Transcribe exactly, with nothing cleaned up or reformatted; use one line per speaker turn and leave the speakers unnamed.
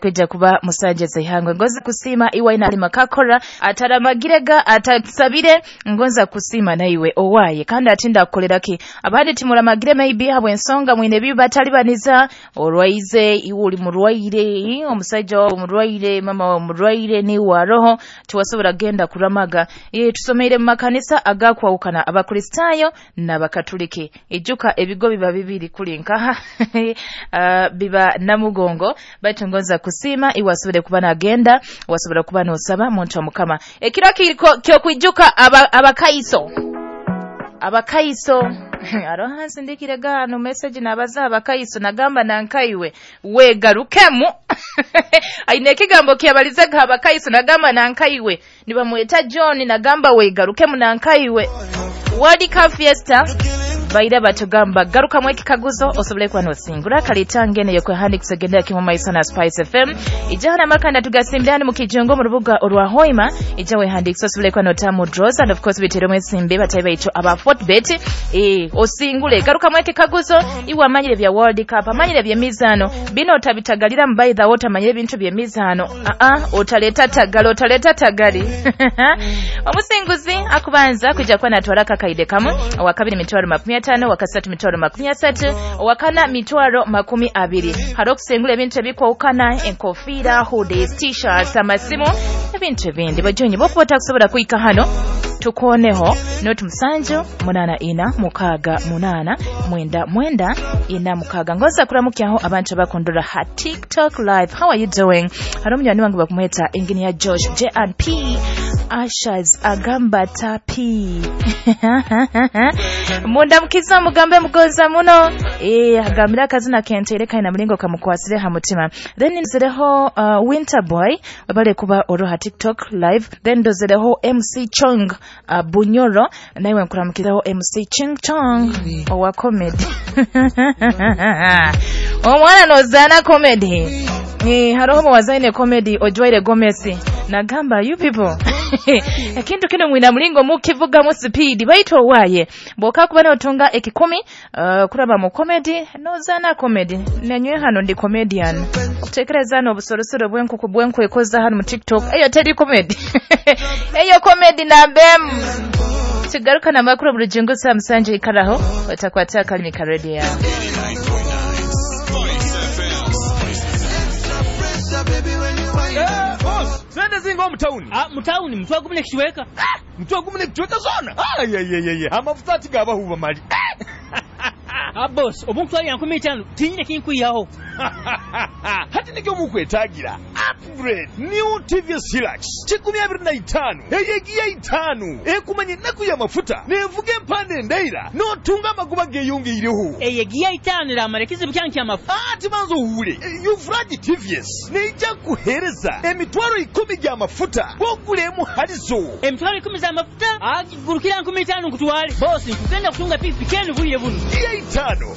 Kwija kuba musajja zeihangwe ngoza kusiima iwe ali makakora ataramagirega atasabire ngonza kusiima naiwe owaye kandi atinda akukoleraki. Abandi timuramagire, maybe habw'ensonga mwine ebibi batalibaniza orwaize, iwe uli murwaire, omusajja wawe murwaire, mama wawe murwaire, niwe aroho tiwasobora genda kuramaga. E, tusomeire mu makanisa agakwawukana, Abakristaayo n'Abakatuliki. Ijuka ebigo biba bibiri kuli nkaha uh, biba namugongo, baitu ngonza kusiima iwe asobole kuba nagenda, wasobora kuba nosaba muntu wa Mukama. Ekiro kyokwijuka abakaiso abakaiso aroha nsindikire gano message nabaza abakaiso, nagamba nankaiwe wegarukemu. Aine ekigambo kyabalizega abakaiso, nagamba nankaiwe nibamweta John, nagamba wegarukemu nankaiwe. World Cup Fiesta baira batugamba garukamu ekikaguzo osobole kuba nosingura kalitangene yokwehandikisa gendera kimwe maiso na Spice F M. Ijana makanda tugasimbira hano mu kijungo mu rubuga orwa Hoima, ija wehandikisa osobole kuba notamu draws and of course biteremo esimbi batayi baitu aba Fortbet. Eh, osingule garukamu ekikaguzo iwe amanyire bya World Cup, amanyire by'emizaano bino otabitagalira mu. By the way, otamanyire ebintu by'emizaano, a a otaleta tagala, otaleta tagali. Omusinguzi akubanza kujja kuba natwala kakaide kamu, owakabiri mitwalo makumi atano, owakasatu mitwalo makumi asatu, owakana mitwalo makumi abiri. Hari okusengula ebintu ebikwawukana, enkofiira, hoodies, T-shirts, amasimu, ebintu ebindi. Bajonyi bokuba otakusobola kuhika hano, tukoneho noti musanju munana ina mukaaga munana mwenda mwenda ina mukaaga. Ngoza kuramukyaho abantu abakundura ha TikTok live. How are you doing? Hari omunywani wange bakumweta Engineer Josh J and P Ashas, agamba tapi mundamukiza, mugambe mugoza muno. e, agambire akazina kentere kaina mulingo kamukwasire ha mutima. Then ndozereho uh, Winter Boy, wabale kuba oroha TikTok live. Then ndozereho M C Chong uh, Bunyoro, naiwe nkuramukizaho M C Ching Chong owa comedy. Omwana nozaana comedy. Eh, haroho muwazaine comedy ojwaire gomesi, nagamba you people ekintu kino mwina mulingo mukivugamu speed, baitu owaye bwoka kuba notunga ekikumi uh, kuraba mu comedy, nozaana comedy. Nenywe hano ndi comedian, okutekereza hano obusorosoro bwenkuku bwenkwekoza hano mu TikTok, eyo teri comedy, eyo comedy nambemu. Tugarukana amakuru buli saa musanje, ikaraho otakwata akalimi ka radio yawe.
eighty-nine point nine Spice F M.
Eh, boss, sente zinga omutawuni.
Ah, mutawuni mutwe gumu nekichweka.
Mutwe gumu nekichweka zona. Ayayayaya, amafuta ati gabahuba mali.
Ah, boss, obunkutwalira nkumi itaano tinyine kinkwihaho.
Hati nikyo mukwetagira upgrade, new T V S Hilux kikumi abiri na itaano eyegiya itaano ekumanya ennaku y'amafuta nevuga empanda endaira n'otunga amagoba geeyongeireho.
Eyo giya itaano eramara ekizibu kyange kyamafuta?
Ati banza owuule, Ufragi T V S neija kuheereza emitwalo ikumi gy'amafuta gwogulemu halizo.
Emitwalo ikumi z'amafuta agigurukira nkumi itaano nkutwale. Boss, nkugenda kutunga pikipiki enu bwire buno.
Giya itaano.